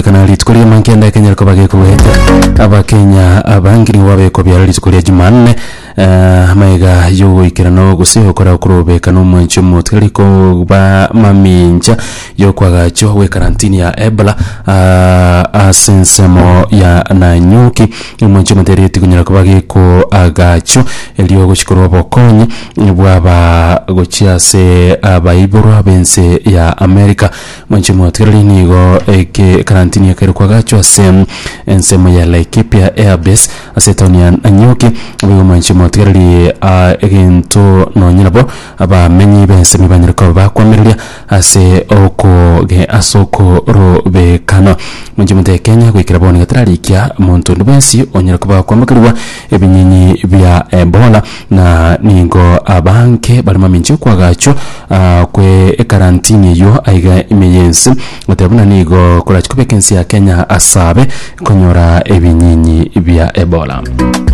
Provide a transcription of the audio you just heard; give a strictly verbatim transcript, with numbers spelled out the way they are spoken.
Kegokorekana rituko ria mankenda ekenyara koba gekogwete Abakenya abange nigo babekobiara rituko ria Jumanne, eh, amaiga yogoikerana gose gokora okorobeka na omwanchi omotigari koba mamincha yokwagachwa gwe karantini ya Ebola, ah, ase ensemo ya Nanyuki. Omwanchi omotigari tikonyara koba gekoagachwa erio gochi korwa obokonyi bwaba gochia ase abaiborwa b'ense ya America. Mwanchi omotigareri, nigo eke karantini ekere kwagachwa ase ensemo ya Laikipia Airbase ase etaoni ya Nanyuki. Boigo mwanchi omotigareri, ah, egento nonye nabo abamenyi b'ensemo banyare koba bakwamireria ase okoge ase okorobekana. Mwanchi omote, Kenya goikera bono gatararikia monto onde bwensi onyare koba kwambokerwa ebinyinyi bia Ebola, na nigo abange bari mamincha okwagachwa, ah, kwe ekarantini eywo aiga ime y'ense, goteba buna nigo korachi kobeka ense ya Kenya asabe konyora ebinyinyi bia Ebola.